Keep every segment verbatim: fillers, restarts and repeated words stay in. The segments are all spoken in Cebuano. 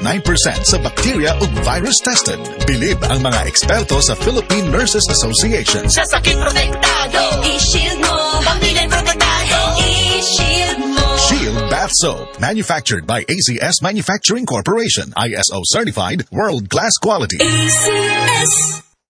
ninety-nine percent sa bacteria ug virus tested. Bilib ang mga eksperto sa Philippine Nurses Association. Sa sakit protektado, I-shield mo. Pamilya protektado, I-shield mo. Shield Bath Soap, manufactured by A C S Manufacturing Corporation, I S O certified, world-class quality. A C S.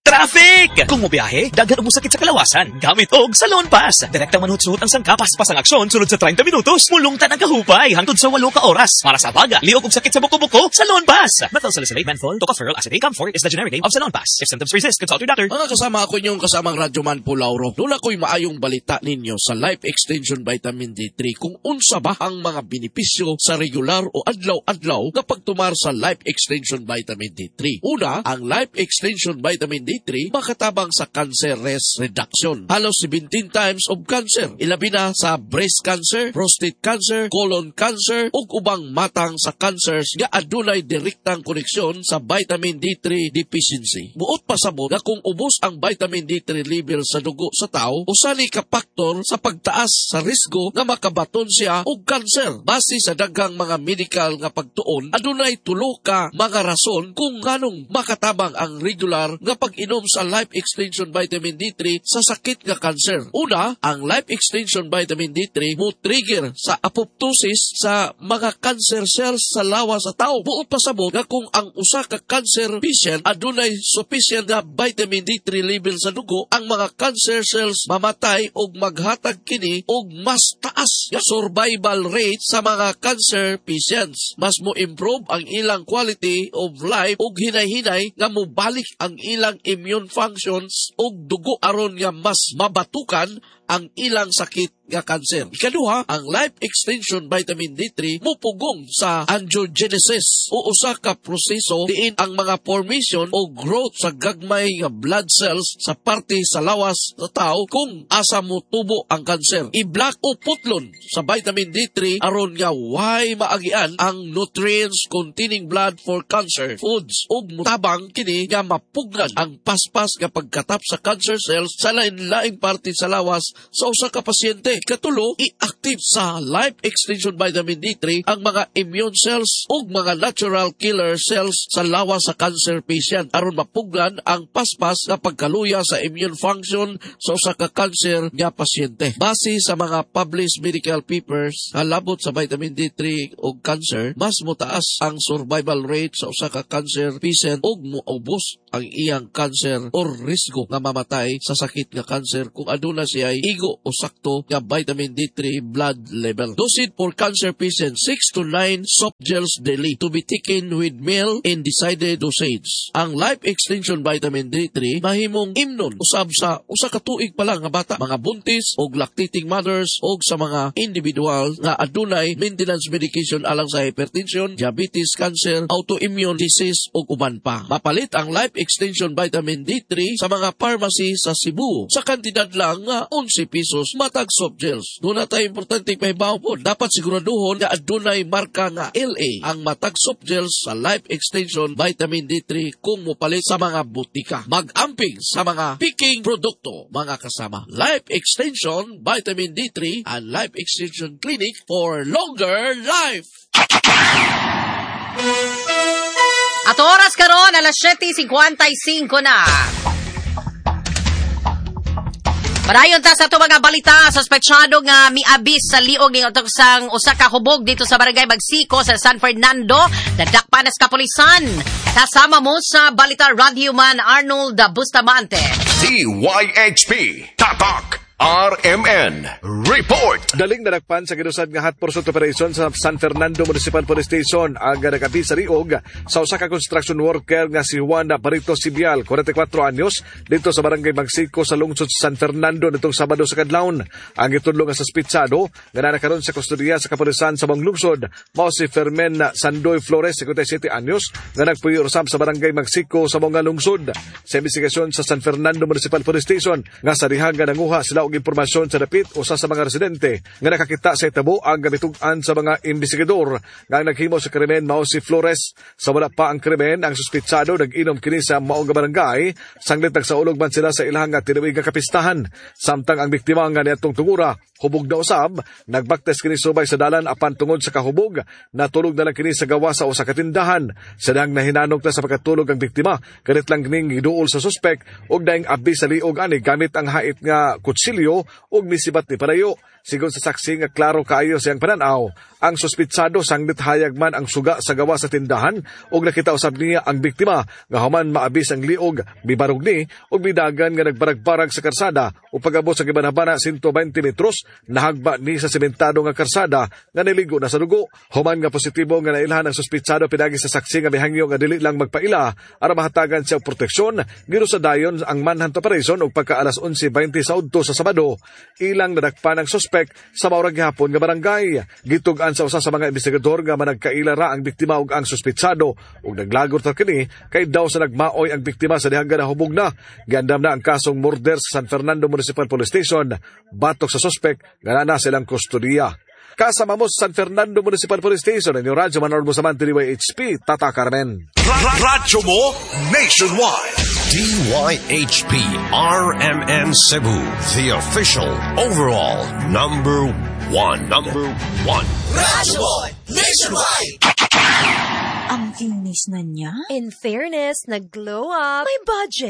Traffic! Kung mobiyahe, daghan og sakit sa kalawasan. Gamit og Salonpas. Direktang manuhot ang sangkap, paspas ang aksyon sulod sa trenta minutos. Mulungtan ang kahupay hangtod sa walo ka oras. Para sa baga, liog og sakit sa buko-buko, Salonpas. Methyl salicylate, menthol, tocopherol acetate, camphor is the generic name of Salonpas. If symptoms persist, consult your doctor. Mga kasama, ako inyong kasamang radyoman po, Lauro. Duna ko'y maayong balita ninyo sa Life Extension Vitamin D three, kung unsa ba ang mga benepisyo sa regular o adlaw-adlaw nga pagtumar sa Life Extension Vitamin D three. Una, ang Life Extension Vitamin D three makatabang sa cancer risk reduction. Halos seventeen times of cancer. Ilabi na sa breast cancer, prostate cancer, colon cancer, ug ubang matang sa cancers nga adunay direktang koneksyon sa vitamin D three deficiency. Buot pasabot nga kung ubos ang vitamin D three level sa dugo sa tao, usa ni ka faktor sa pagtaas sa risgo nga makabaton siya og cancer. Base sa daghang mga medical nga pagtuon, adunay tulo ka mga rason kung nganong makatabang ang regular nga pag-inom sa Life Extension Vitamin D three sa sakit nga cancer. Una, ang Life Extension Vitamin D three mo trigger sa apoptosis sa mga cancer cells sa lawas sa tao. Buot pasabot nga kung ang usa ka cancer patient adunay sufficient nga vitamin D three level sa dugo, ang mga cancer cells mamatay og maghatag kini og mas taas nga survival rate sa mga cancer patients. Mas mo improve ang ilang quality of life ug hinay-hinay nga mobalik ang ilang immune functions ug dugo aron nga mas mabatukan ang ilang sakit nga cancer. Ikaduha, ang Life Extension Vitamin D three mupugong sa angiogenesis o usa ka proseso diin ang mga formation o growth sa gagmay nga blood cells sa parte sa lawas sa tao kung asa mo tubo ang cancer. I-block o putlon sa vitamin D three aron nga way maagian ang nutrients containing blood for cancer foods ug mutabang kini nga mapugnan ang paspas nga pagkatap sa cancer cells sa lain-laing parte sa lawas sa usa ka pasyente. Katulo, i-active sa Life Extension Vitamin D three ang mga immune cells ug mga natural killer cells sa lawas sa cancer patient aron mapugnan ang paspas nga pagkaluya sa immune function sa usa ka cancer nga pasyente. Base sa mga published medical papers nga labot sa vitamin D three ug cancer, mas motaas ang survival rate sa usa ka cancer patient ug moubos ang iyang cancer or risgo nga mamatay sa sakit nga cancer kung aduna siya igo o sakto nga vitamin D three blood level. Dosage for cancer patients, six to nine soft gels daily to be taken with meal in decided dosage. Ang Life Extension Vitamin D three mahimong imnon usab sa usa ka tuig pa lang nga bata, mga buntis og lactating mothers og sa mga individual nga adunay maintenance medication alang sa hypertension, diabetes, cancer, autoimmune disease ug uban pa. Mapalit ang Life Extension Vitamin D three sa mga pharmacy sa Cebu sa kantidad lang nga onse pesos matag soft gels. Duna tay importante pahibaw po. Dapat siguraduhon nga adunay marka nga L A ang matag soft gels sa Life Extension Vitamin D three kung mopalit sa mga butika. Mag-amping sa mga peking produkto, mga kasama. Life Extension Vitamin D three and Life Extension Clinic for longer life. At oras karon, alas siyete singkwenta y singko na. Padayon ta sa ato mga balita. Sospetsado nga miabis sa liog ning sang usa ka hubog dito sa Barangay Magsiko sa San Fernando, nadakpan na sa kapulisan. Kasama mo sa balita, Radyoman Arnold Bustamante. D Y H P Tatak R M N Report. Daling nadakpan sa ginusad nga hot pursuit operation sa San Fernando Municipal Police Station ang nagabi sa liog sa usa ka construction worker nga si Juan Barito Sibial, kwarenta y kwatro anyos, dito sa Barangay Magsiko sa lungsod sa San Fernando nitong Sabado sa kadlawon. Ang gitudlo nga suspitsado nga naa karon sa kustodiya sa kapulisan sa maong lungsod mao si Fermin Sandoy Flores, singkwenta y siyete anyos, nga nagpuyo usab sa Barangay Magsiko sa maong lungsod. Sa investigasyon sa San Fernando Municipal Police Station nga sa diha nga nanguha sila og impormasyon sa dapit usa sa mga residente nga nakakita sa hitabo, ang gabitug-an sa mga investigador nga ang naghimo sa krimen mao si Flores. Sa wala pa ang krimen, ang suspitsado nag-inom kini sa maong nga barangay sanglit nagsaulog man sila sa ilang nga tinuig nga kapistahan. Samtang ang biktima nga niadtong tungura Hubog na usab, nagbaktas kini subay sa dalan apan tungod sa kahubog, natulog na lang kini sa gawa sa usa ka tindahan. Sa dihang nahinanok na sa pagkatulog ang biktima, kalit lang kining giduol sa suspek ug daing abi sa liog ani gamit ang hait nga kutsilyo ug misibat ni palayo. Sigon sa saksi nga klaro kaayo siyang pananaw, ang suspitsado sanglit hayag man ang suga sa gawa sa tindahan ug nakita usab niya ang biktima nga human maabis ang liog, mibarog ni ug midagan nga nagbarag-barag sa karsada ug pag-abot sa gibanabana one hundred twenty metros nahagba ni sa sementado nga karsada nga niligo na sa dugo. Human nga positibo nga nailhan ang suspitsado pinagi sa saksi nga mihangyo nga dili lang magpaila aron mahatagan siya og proteksyon, girusa dayon ang manhunt operation ug pagka alas onse twenty sa udto sa Sabado ilang nadakpan ang suspek sa maurag gihapon nga barangay. Gitug-an sa usa sa mga investigador nga managkaila ra ang biktima ug ang suspitsado ug naglagor ta kini kay daw sa nagmaoy ang biktima sa dihang nahubog na. Giandam na ang kasong murder sa San Fernando Municipal Police Station batok sa suspek nga naa sa ilang kustodiya. Kasama mo sa San Fernando Municipal Police Station, inyong Radyo Man Bustamante, D Y H P, Tatak R M N. Radyo mo nationwide. D Y H P R M N Cebu, the official overall number one. Number one. Radyo mo nationwide. Ang kinis na niya. In fairness, nag-glow up. May budget.